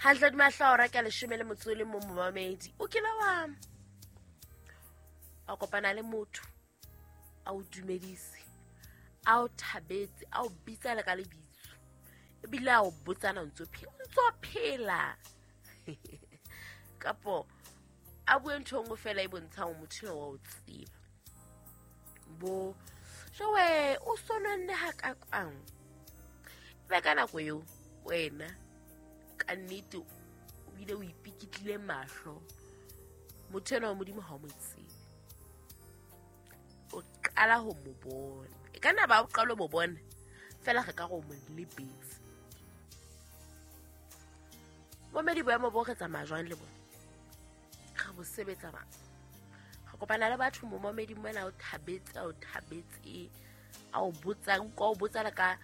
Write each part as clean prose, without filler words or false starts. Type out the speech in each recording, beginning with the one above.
Hantle di mahlaora ka 11 momamedi. O kile wa a kopana le motho a o dumedise, a o thabetse, a o bitsa le ka lebitso, ebile a o botsana ntso phela kapo a bue ntho nngwe fela e bontshang motho wa o tseba bo jowe o sononne ha ka kwang be ka nako eo wena ka nnete o bile o ipikitlile mahlo motho ena wa Modimo ha o mo tsebe, o qala ho mo bona, e ka nna ba o qala ho mo bona fela re ka go mo lebetse. Momedi boemo bo re tsamaya jwang le bona, re bo sebetsa ba re kopana le batho momamedi mona o thabetse a o botsa o botsa le ka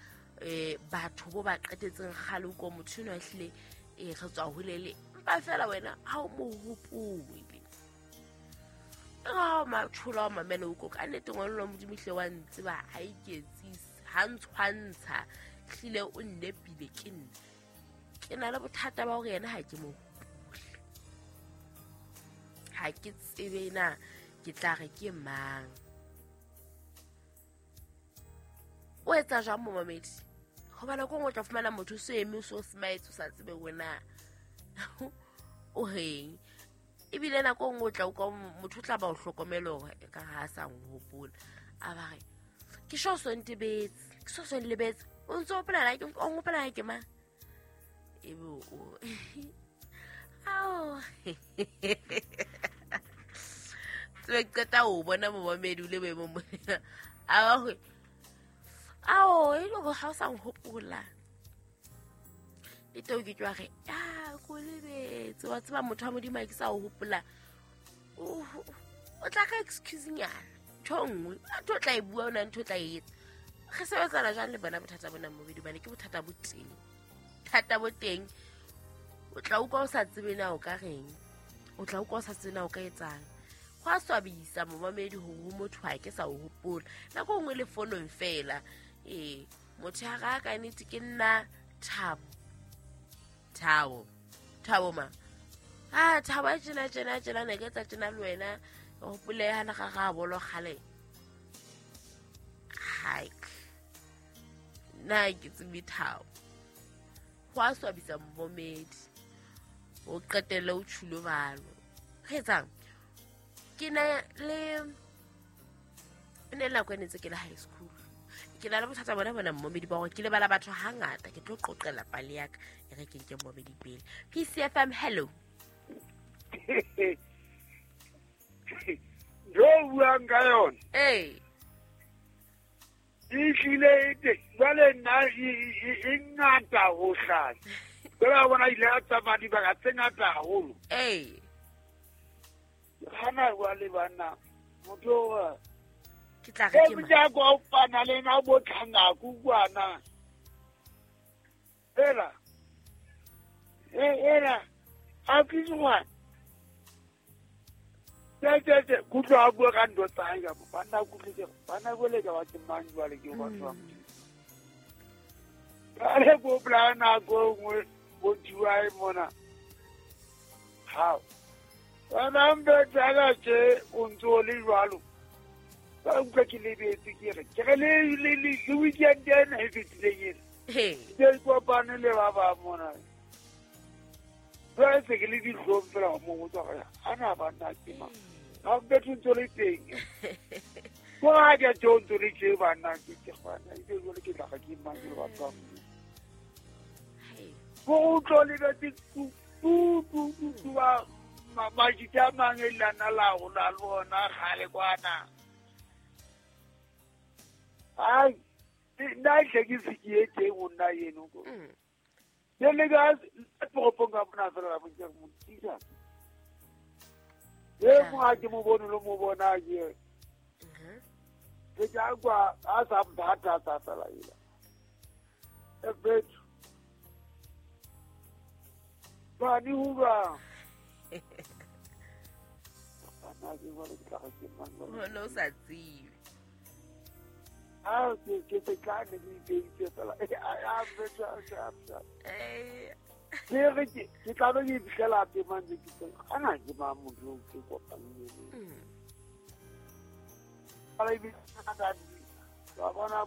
batho bo ba qetetseng kgale o ko motho eno a hlile re tswa holele mpa fela wena ha o mo hopole ga o matshola wa mamela o ko ka nnete ngwanelo wa Modimo hle wa ntseba ha iketsise ha ntshwantsha hlile o nnepile ke nna ke na le bothata ba hore yena ha ke mo hopole, ha ke tsebe na ke tla re ke mang. O etsa jwang momamedi? Hoba nako nngwe o tla fumana motho o so eme o so smile o sa tsebe wena o reng, ebile nako nngwe o tla utlwa motho o tla ba o hlokomele hore e ka ha a sa nhopola, a ba re ke sho so ntebetse, ke so so nlebetse, o ntse o hopola ke o nhopola ke mang, ebe o ao tsebe qeta o bona momamedi o le boemong mona a ba hore ao e le hore ha o sa nhopola le teo ke tswa re a ko lebetse wa tseba motho wa Modimo a ke sa o hopola o tla ka excuse nyana ntho nngwe ntho o tla e bua o na ntho o tla e etsa. Re sebetsana jwang le bona bothata bona momedi, bane ke bothata bo teng, thata bo teng. O tla utlwa o sa tsebe na o ka reng, o tla utlwa o sa tsebe na o ka etsang. Go a swabisa momamedi hore ho motho ha ke sa o hopola nako nngwe le fonong fela. Ee, motho ya ga ka nnete ke nna Thabo, Thabo ma a Thabo a tjena tjena tjena ne ke tsa tjena le wena hopole ha na ga ga bolo kgale hike nna ke tsebe Thabo. Go a swabisa momedi o qetelle o tshilo balo re etsang. Ke na le ne nako e ne ntse ke le high school, ke na le bothata bona momedi ba hore ke lebala batho hangata. Ke tlo qoqela pale ya ka e re ke nke momedi pele. PCFM, hello. Jo buang ka yona ee e hlile e teng jwale nna e ngata ho hlanya jwale a bona ile a tsamaya dibaka tse ngata haholo. Ee hana jwale banna motho ke tla re ke mang mojako o pana le na bo tlhangaku kwana ela ela a ke jwa tse kutlwa a bua ka ntho tsa hae ka banna kutlwe banna bole ka ba ke mang jwale ke batho ba Modimo. Jwale ko bolaya nako e nngwe bo diwae mona hao wena mbetsala tje o ntse o le jwalo ba utlwa ke lebetse ke re ke re le weekend ena e fetileng ena ke kopane le ba bang mona jwale se ke le dihlong fela go mo botsa gore a na banna ke mang ga betho ntse le teng ko ga ke tjo ntse le tje banna ke ke bana e jwale ke tla ga ke mang ke le batho ba Modimo ko utlwa lebetse tu tu tu tu ba majita a mang e lana la go la le bona kgale kwana. Ai nna hle ke se ke e teng ho nna eno ko ke le ka toropong ka mona fela la bontsha motisa e mo ha ke mo bone lo mo bona ke ke tla kwa a sa mphatha tsa fela ila e bethu bani huba bana ke bona ke tla ke mang no sa tsebe a ke ke tla ne ke itse fela a bethu a. Ke re ke tla be ke iphitlhela tema ntse ke tsena kana ke mang motho o ke kopaneng le ena. Ala ebile wa bona.